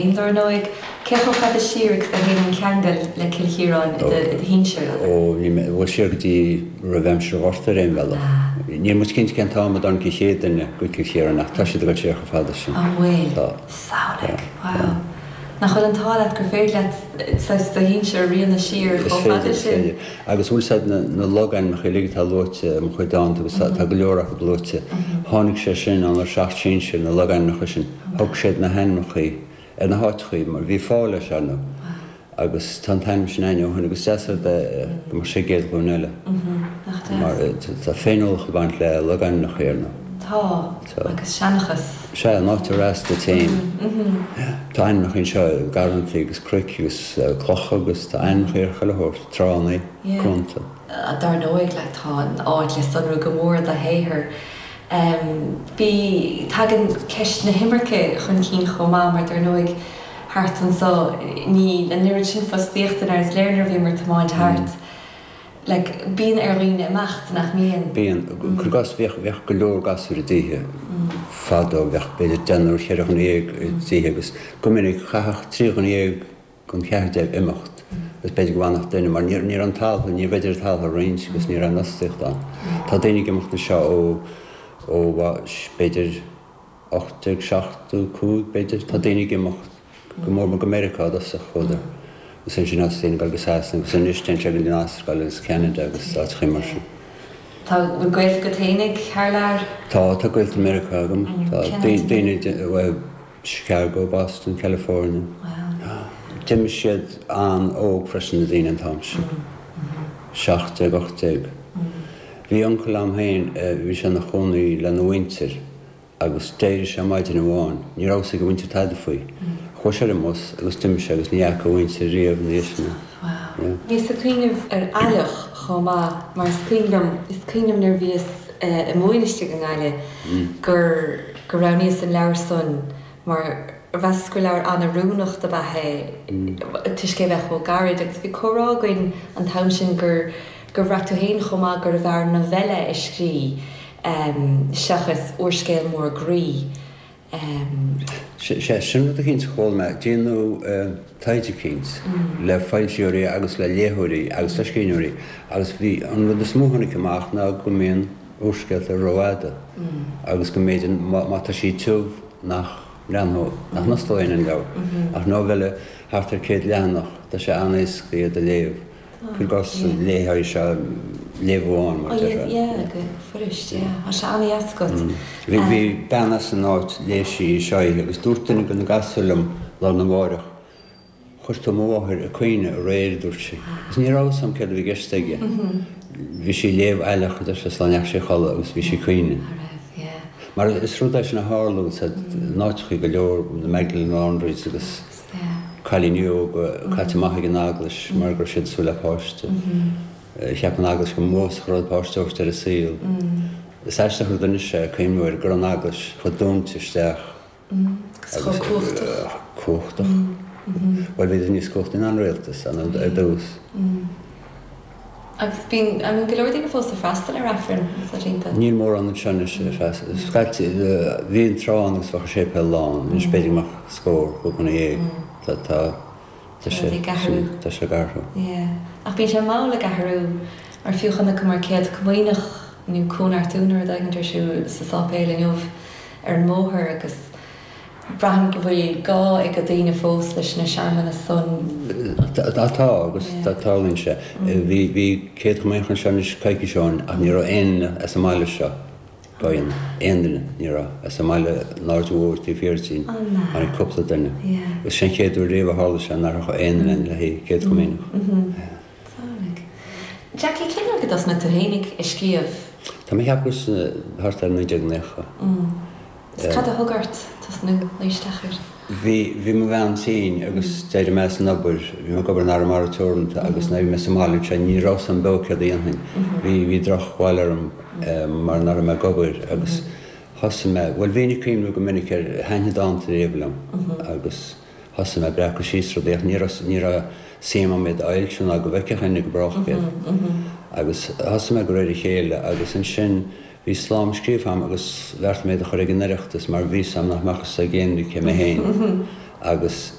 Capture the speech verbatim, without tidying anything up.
Dar ndóigh, cé chomh fada siar agus a théann an ceangal le Cill Chiaráin i do shinsir? Ó, bhuel, siar go dtí roimh aimsir an Ghorta ar aon bhealach. Níl muid cinnte cén t-am a dtáinig an chéad duine go Cill Chiaráin ach tá siad ag dul siar chomh fada sin. An bhfuil? Tá. Samhlaigh! Wow. Nach bhfuil an t-ádh leat gur féidir leat saghas do shinsir a rianadh siar Is chomh fada féidir, is sin? féidir. Agus bhfuil 's a'd na na logainmneacha uilig atá luaite i mo chuid dánta agus tá go leor acu luaite, tháinig sé sin ónár seacht sinsir, na logainmneacha sin. Thug siad na hainmneacha ar na háiteachaí mar bhí fáil leis, ar ndóigh, agus tá an t-ainm sin againn ó shin agus is deas an rud é go mbeadh sé ag an gcéad ghlúin eile. Nach deas. Mar tá féiniúlacht ag baint le logainmneacha, ar ndóigh. Tá, agus seanchas. Sea, an áit ar fhás duit féin. Tá ainmneacha anseo, garrantaí agus cnoic agus clocha agus tá ainmneacha ar chuile shórt, tránna, cuanta. Dar ndóigh, like, tá an áit le sonrú go mór i do shaothar. Bhí, tagann ceist na himirce chun cinn chomh maith mar dar ndóigh thart anso níl an oiread sin fostaíochta mar is léir nuair a bhíomar ag tiomáint thart. Like, bíonn ar dhaoine imeacht, nach mbíonn? Bíonn. Cuir i gcás, bhíodh, bhíodh go leor gasúir i dtithe fadó, bheadh b'fhéidir deichniúr, cheithre dhuine dhéag i dtithe agus go minic chaithfeadh trí dhuine dhéag den cheathrar déag imeacht agus b'fhéidir go bhfanfadh duine mar ní raibh an talamh, níorbh fhéidir an talamh a roinnt agus ní raibh an fhostaíocht ann. Tá daoine ag imeacht anseo ó, ó b'fhéidir ocht déag seachtó cúig b'fhéidir, tá daoine ag imeacht go mór mór go Meiriceá i dtosach chuadar agus ansin thosaigh daoine ag dul go Sasana agus anois téann siad go dtí an Astráil agus Ceanada agus áiteachaí mar sin. Tá, bhfuil gaolta agat fhéinig thar lear? Tá, tá gaolta i Meiriceá agam, tá daoine, bhuel, Chicago, Boston, California. D'imigh siad an-óg freisin, na daoine an t-am sin. Seacht déag, ocht déag. Bhí uncail a'm féin, bhí sé ina chónaí lena mhuintir agus d'éirigh sé maidin amháin, ní raibh fhios ag a mhuintir tada faoi. Chuaigh sé ar an mbus agus d'imigh sé agus ní fhaca a mhuintir riamh ina dhiaidh sin é. Wow. Bhíos ag cuimhneamh ar Aileach chomh maith mar is cuimhin liom, is cuimhin liom nuair a bhíos i m'bhainisteach i nGaillimh gur gur roghnaíos an leabhar san mar mheasas gur leabhar an-oiriúnach dob ea é toisc é bheith chomh gairid agus bhí comhrá againn an t-am sin gur gur bhraith tú féin chomh maith gurbh fhearr novella a scrí seachas úrscéal mór groí. Sea, sin rud eicínt a chuala mé. Déanadh taighde eicínt le foilsitheoirí agus le léitheoirí agus le scríbhneoirí agus bhí an rud is mó a tháinig amach ná go mbíonn úrscéalta rófhada agus go mb'fhéidir má tá siad tiubh nach mbreathnódh, nach n-osclódh éinne an leabhar. Ach novella thart ar céad leathanach, tá sé an-éasca iad a léamh. Cuir i gcás, léifeá sé léamh amháin, mar a déarfá. Yeah, go fuirist, yeah. Tá sé an-dheas agat. Bhí bhí bean as an áit, léigh sí í seo oíche agus dúirt duine de na gasúir liom lá arna mháireach, Chuir tú mo mháthair ag caoineadh aréir, a dúirt sí. Agus ní raibh fhios a'm céard a bhí i gceist aige. Bhí sí ag léamh Aileach, a deir sé, sula ndeachaigh sí a chodladh agus bhí sí ag caoineadh. Mar is rud é sin a tharla in áiteachaí go leor, na Magdalene Laundries agus cailíní óga caite amach ag an eaglais mar go raibh siad ag súil le páiste. Cheap an eaglais go mb'uafásach an rud páiste a thabhairt ar an saol. Is aisteach an rud anois é, cuimhniú air, go raibh an eaglais chomh dúinte isteach. Agus chomh cumhachtach. Cumhachtach. Bhuel, bhíodar níos cumhachtaí ná an rialtas ar dtús. Agus bíonn, I mean, go leor daoine fós ag freastal ar Aifreann sna laethanta. Níl mórán anseo anois ag freastal. Scaití, bhí an tráth ann agus bheadh an séipéal lán. Anois b'fhéidir go mbeadh scór, cúig dhuine dhéag. Tá, tá, tá sé, Ag athrú. tá sé ag athrú. Yeah. Ach bíonn sé mall ag athrú mar fiú chonaiceamar Céad Comaoineach nó Cóineartú nó rud éigin ar siúl sa sáipéal inniu ar an mbóthar agus braithim go bhfuil gá ag daoine fós leis na searmanais san. Tá, tá agus tarlaíonn sé. Bhí, bhí Céad Chomaoineach anseo anois coicís ó shin ach ní raibh aon duine as an mbaile seo á dhéanamh. Aon duine, ní raibh. As an mbaile an Aird Mhóir taobh thiar dínn, tháinig cúpla duine. Agus sin an chéad uair riamh a tharla sé nach raibh aon duine le haghaidh Céad Chomaoineach. Jackie, cén uair go dtosnaigh tú féin ag scríobh? Tá mé ag ceapadh thart ar naoi déag naocha. Is cad a thug ort tosnú luí isteach air? Bhí, bhí mo bhean tinn agus d'éirigh mé as an obair, bhí mé ag obair in Arramara Teoranta agus nuair a bhí mé sa mbaile ansin ní raibh 'fhios a'm beo céard a dhéanfainn. Bhí, bhí drochbhail orm mar nach raibh mé ag obair agus thosaigh mé, bhuel bhínn ag cuimhniú go minic ar, thaitnigh dánta riamh liom agus thosaigh mé ag breacadh síos rudaí ach ní raibh, ní raibh suim a'm iad a fhoilsiú ná go bhfeicfeadh éinne go brách iad. Agus thosaigh mé de réir a chéile agus ansin bhí slám scríofa a'm agus bheartaigh mé iad a chur ag an Oireachtas mar bhí 'fhios a'm nach mbeadh 'fhios ag éinne cé mé féin. Agus